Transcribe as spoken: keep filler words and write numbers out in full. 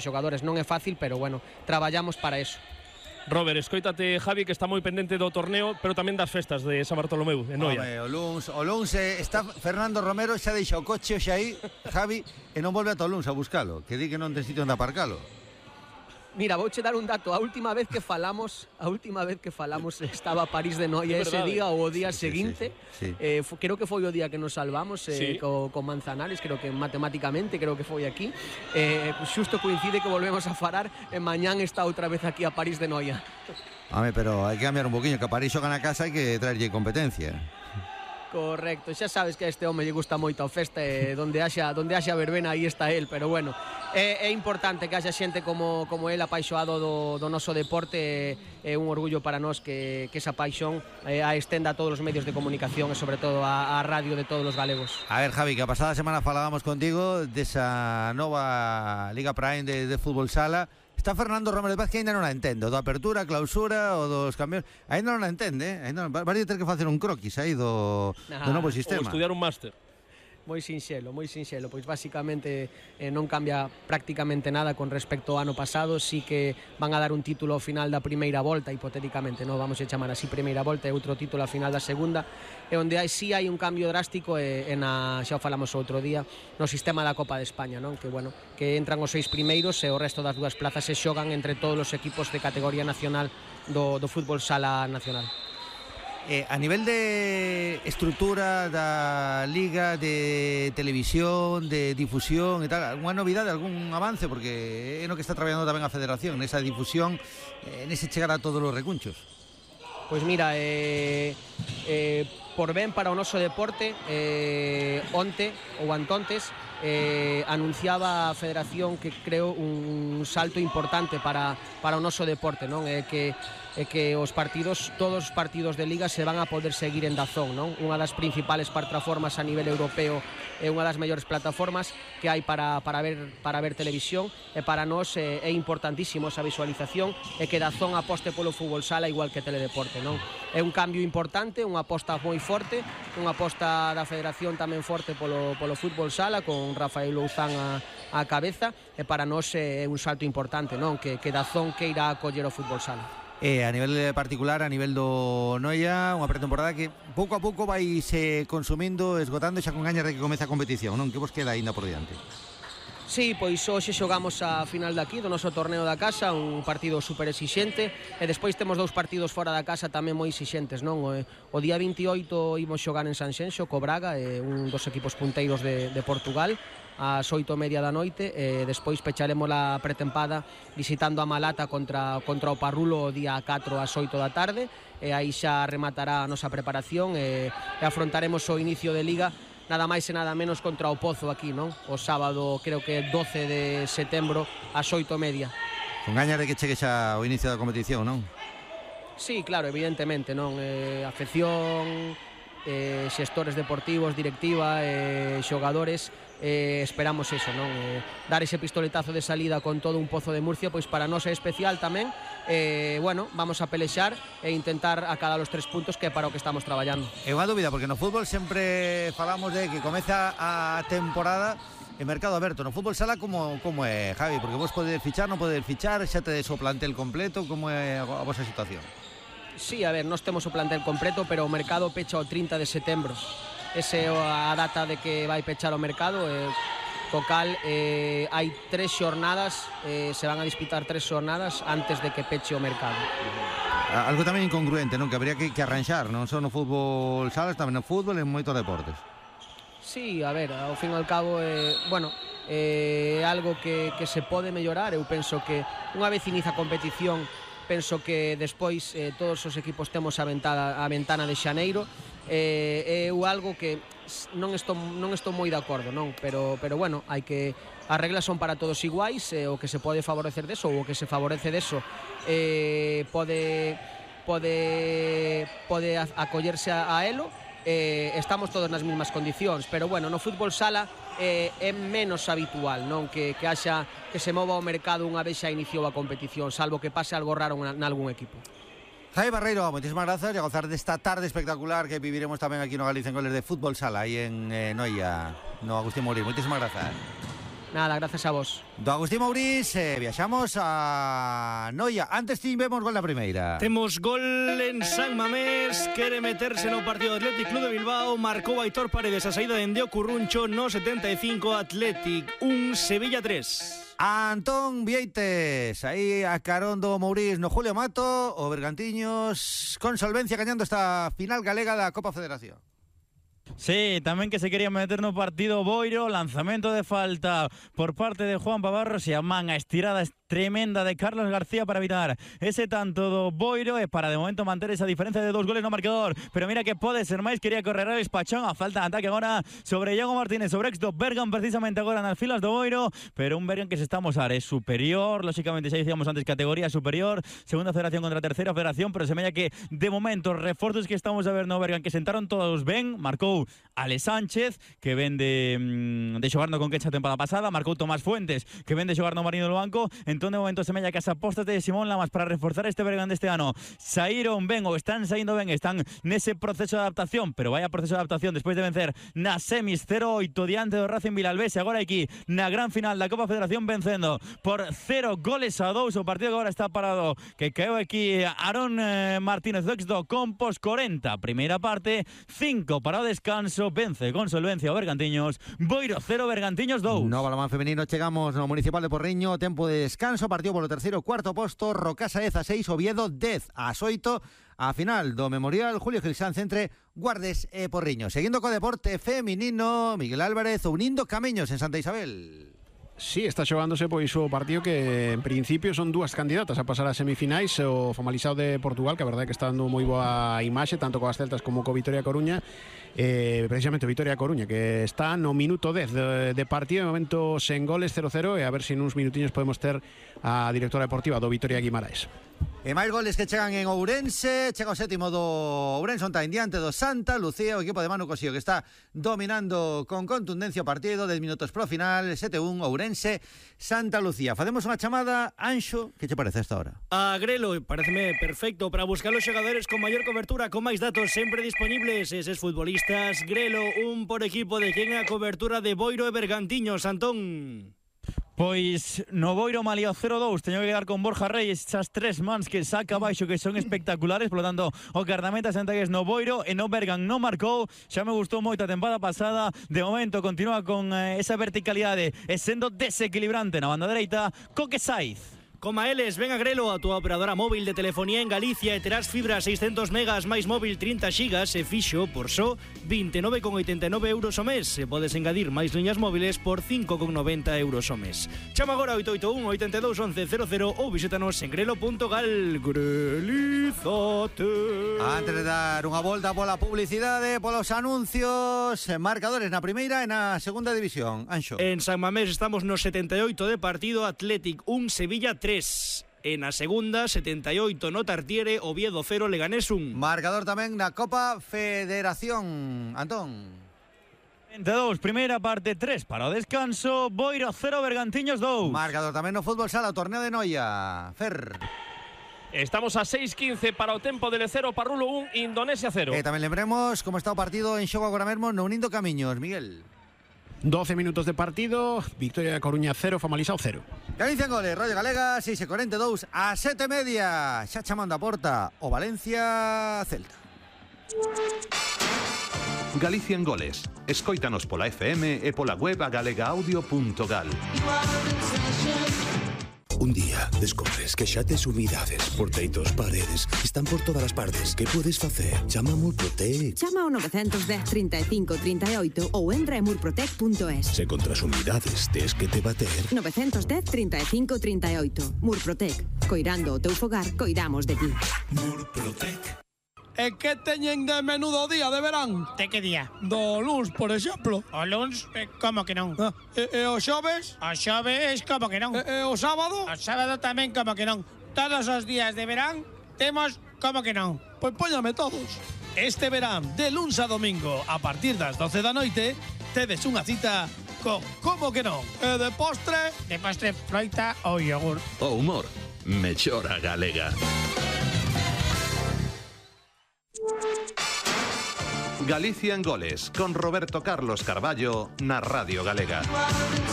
xogadores non é fácil, pero bueno, traballamos para eso. Robert, escoítate Javi que está moi pendente do torneo, pero tamén das festas de San Bartolomeu en Noia. Home, o luns, o luns eh, está Fernando Romero xa deixa o coche xa aí, Javi, e non volve ata o luns a buscalo, que di que non ten sitio onde aparcalo. Mira, vouche dar un dato. A última vez que falamos, a última vez que falamos estaba París de Noia ese día ou o día sí, seguinte. Sí, sí, sí. Eh, creo que foi o día que nos salvamos eh, sí. co, con Manzanares, creo que matemáticamente, creo que foi aquí. Eh, xusto coincide que volvemos a falar e mañán está outra vez aquí a París de Noia. Home, pero hai que cambiar un poquinho, que a París xoga na casa hai que traerlle competencia. Correcto, xa sabes que a este home lle gusta moito a festa e donde haxa, donde haxa verbena aí está el, pero bueno, é, é importante que haxa xente como, como el apaixoado do, do noso deporte, é un orgullo para nós que, que esa paixón eh, a estenda a todos os medios de comunicación e sobre todo a, a radio de todos os galegos. A ver, Javi, que a pasada semana falábamos contigo desa nova Liga Prime de, de fútbol sala. Está Fernando Romero de Paz que ainda non a entendo, do apertura, clausura ou dos cambios, ainda non a entende, eh? Ainda non, vai ter que facer un croquis aí do, nah, do novo sistema. Ou estudiar un máster. Moi sinxelo, moi sinxelo, pois basicamente eh, non cambia prácticamente nada con respecto ao ano pasado, sí que van a dar un título ao final da primeira volta, hipotéticamente, non vamos a chamar así primeira volta, e outro título ao final da segunda, e onde hai sí hai un cambio drástico e, e na, xa o falamos outro día, no sistema da Copa de España, non? Que bueno, que entran os seis primeiros e o resto das dúas plazas se xogan entre todos os equipos de categoría nacional do, do fútbol sala nacional. Eh, a nivel de estrutura da liga, de televisión, de difusión e tal, alguna novidade, algún avance? Porque é no que está traballando tamén a Federación, nesa difusión, eh, nese chegar a todos os recunchos. Pois mira, eh, eh, por ben para o noso deporte, eh, onte ou antontes, eh, anunciaba a Federación que creo un salto importante para, para o noso deporte, non? É que é que os partidos, todos os partidos de Liga se van a poder seguir en Dazón, non? Unha das principales plataformas a nivel europeo é unha das mellores plataformas que hai para, para, ver, para ver televisión, e para nós é, é importantísimo esa visualización e que Dazón aposte polo fútbol sala igual que Teledeporte, non? É un cambio importante, unha aposta moi forte, unha aposta da Federación tamén forte polo, polo fútbol sala, con Rafael Louzán a, a cabeza, e para nós é un salto importante, non? Que, que Dazón que irá a coller o fútbol sala. E a nivel particular, a nivel do Noia, unha pretemporada que pouco a pouco vai se consumindo, esgotando, xa con gañas de que comece a competición, non? Que vos queda aínda por diante? Sí, pois hoxe xogamos a final daqui do noso torneo da casa, un partido super exixente, e despois temos dous partidos fora da casa tamén moi exixentes, non? O, o día veintioito imos xogar en Sanxenxo co Braga, eh, un dos equipos punteiros de, de Portugal, ás oito e media da noite, e despois pecharemos a pretempada visitando a Malata contra, contra o Parrulo o día catro ás oito da tarde, e aí xa rematará a nosa preparación e, e afrontaremos o inicio de Liga nada máis e nada menos contra o Pozo aquí, non? O sábado, creo que doce de setembro ás oito e media. Con gañas de que chegue xa o inicio da competición, non? Sí, claro, evidentemente, non? Eh, afección, eh, xestores deportivos, directiva, eh, xogadores, eh, esperamos eso, non? Eh, dar ese pistoletazo de salida con todo un Pozo de Murcia, pois para nós é especial tamén. Eh, bueno, vamos a pelexar e intentar acadar os tres puntos, que é para o que estamos traballando. É unha dúbida, porque no fútbol sempre falamos de que comeza a temporada en mercado aberto. No fútbol sala como, como é, Javi? Porque vos podedes fichar, non podedes fichar, xa tedes o plantel completo, como é a vosa situación? Sí, a ver, nós temos o plantel completo, pero o mercado pecha o trinta de setembro. Esa é a data de que vai pechar o mercado, e co cal eh, hai tres xornadas, eh, se van a disputar tres xornadas antes de que peche o mercado. Algo tamén incongruente, non? Que habría que, que arranxar, non só no fútbol salas, tamén no fútbol e en moitos deportes. Sí, a ver, ao fin e ao cabo, eh, bueno, é eh, algo que, que se pode mellorar. Eu penso que unha vez inicia a competición, penso que despois eh, todos os equipos temos a ventana, a ventana de xaneiro, é eh, algo que non estou, non estou moi de acordo, non? Pero, pero bueno, hai que, as reglas son para todos iguais, eh, o que se pode favorecer deso ou o que se favorece deso eh, pode, pode, pode acollerse a, a elo. Eh, estamos todos nas mesmas condicións, pero bueno, no fútbol sala eh, é menos habitual, non? Que, que haxa, que se mova o mercado unha vez xa iniciou a competición, salvo que pase algo raro en algún equipo. Javi Barreiro, moitísimas grazas e a gozar desta tarde espectacular que viviremos tamén aquí no Galicia en Goles de Fútbol Sala aí en eh, Noia, no Agustín Morir. Moitísimas grazas. Nada, gracias a vos. Do Agustín Mourís, eh, viaxamos a Noia. Antes tivemos gol na primeira. Temos gol en San Mamés. Quere meterse no partido do Athletic Club de Bilbao. Marcou Aitor Paredes a saída de Endeo Curruncho no setenta e cinco. Athletic un, Sevilla tres. Antón Vieites, aí a carón do Mourís no Julio Mato. O Bergantiños con solvencia gañando esta final galega da Copa Federación. Sí, tamén que se quería meter no partido Boiro. Lanzamento de falta por parte de Juan Pavarros e a man a estirada tremenda de Carlos García para evitar ese tanto do Boiro e para de momento manter esa diferencia de dos goles no marcador. Pero mira que pode ser máis, quería correr a Espachón, a falta de ataque agora sobre Iago Martínez, sobre ex do Bergan precisamente agora nas filas do Boiro, pero un Bergan que se está a mostrar é superior, lógicamente xa dicíamos antes categoría superior, segunda federación contra terceira federación, pero semella que de momento reforzos que estamos a ver no Bergan que sentaron todos ben. Marcou Ale Sánchez, que ven de, de xogar no Conquecha a temporada pasada, marcou Tomás Fuentes, que ven de xogar no Marino do Banco. Entón de momento semella que as apostas de Simón Lamas para reforzar este Bergan deste ano saíron ben ou están saindo ben, están nese proceso de adaptación, pero vaya proceso de adaptación despois de vencer na semis cero oito diante do Racing Vilalbés e agora aquí na gran final da Copa Federación vencendo por cero goles a dous. O partido que agora está parado, que caeu aquí Aarón eh, Martínez do ex do Compos, corenta primeira parte, cinco para o descanso. Vence con solvencia o Bergantiños. Boiro cero, Bergantiños dous. No balonmán femenino chegamos no Municipal de Porriño. Tempo de descanso, partido polo terceiro cuarto posto. Rocasa dez a seis, Oviedo dez a oito. A final do Memorial Julio Gil Sanz entre Guardes e Porriño. Seguindo co deporte feminino, Miguel Álvarez unindo camiños en Santa Isabel. Sí, está xogándose pois o partido que en principio son dúas candidatas a pasar a semifinais, o Famalicao de Portugal, que a verdade é que está dando moi boa imaxe tanto coas Celtas como co Vitoria Coruña. Eh, precisamente o Vitoria Coruña, que está no minuto dez de, de partido, de momento sen goles, cero cero, e a ver se nuns minutiños podemos ter a directora deportiva do Vitoria Guimaraes. E máis goles que chegan en Ourense. Chega o sétimo do Ourense, onta en diante do Santa Lucía, o equipo de Manu Cosío, que está dominando con contundencia o partido. dez minutos pro final, sete un, Ourense Santa Lucía. Facemos unha chamada. Anxo, que che parece esta hora? A Grelo, pareceme perfecto para buscar os xogadores con maior cobertura, con máis datos sempre disponibles. Eses futbolistas, Grelo, un por equipo de quen a cobertura de Boiro e Bergantiños, Antón. Pois no Boiro malía cero dous, teño que quedar con Borja Reyes, esas tres mans que saca baixo que son espectaculares, por lo tanto o guardameta Santagués no Boiro e no Bergan non marcou. Xa me gustou moito a tempada pasada, de momento continúa con eh, esa verticalidade e sendo desequilibrante na banda dereita Coque Saiz. Coma eles, ven a Grelo, a túa operadora móvil de telefonía en Galicia, e terás fibra seiscentos megas máis móvil trinta xigas e fixo por só vinte e nove con oitenta e nove euros o mes. E podes engadir máis liñas móviles por cinco con noventa euros o mes. Chama agora oito oito un, oito dos, once cero cero ou visítanos en grelo punto gal. Grelizate. Antes de dar unha volta pola publicidade, polos anuncios, marcadores na primeira e na segunda división. Anxo. En San Mamés estamos no setenta e oito de partido, Athletic un, Sevilla tres. En a segunda, setenta e oito no Tartiere, Oviedo cero, Leganés un. Marcador tamén na Copa Federación. Antón. veintidós, primeira parte, tres para o descanso. Boiro cero, Bergantiños dous. Marcador tamén no fútbol sala, o torneo de Noia. Fer. Estamos a seis quince para o tempo del cero, Parrulo un, Indonesia cero. E tamén lembremos como está o partido en xogo agora mesmo no Unindo Camiños, Miguel. doce minutos de partido, Victoria de Coruña cero, Famalicao cero. Galicia en goles, Radio Galega, seis e cuarenta e dous a sete e media. Xa chamando a porta o Valencia Celta. Galicia en goles. Escóitanos pola F M e pola web a galega audio punto gal. Un día descubres que xa tes humidades por teitos, paredes, están por todas as partes. Que podes facer? Chama a Murprotec. Chama ao nove un cero, trinta e cinco, trinta e oito ou entra en murprotec punto es. Se contra as humidades tes que te bater. nove un cero, trinta e cinco, trinta e oito. Murprotec. Coirando o teu fogar, coidamos de ti. Murprotec. E que teñen de menú do día de verán? De que día? Do luns, por exemplo. O luns, eh, como que non? Ah, e, e o xoves? O xoves, como que non? E, e o sábado? O sábado tamén, como que non? Todos os días de verán temos como que non? Pois póñame todos. Este verán, de luns a domingo, a partir das doce da noite, tedes unha cita con como que non? E de postre? De postre, froita ou yogur. O humor, mellora galega. Galicia en goles, con Roberto Carlos Carballo na Radio Galega.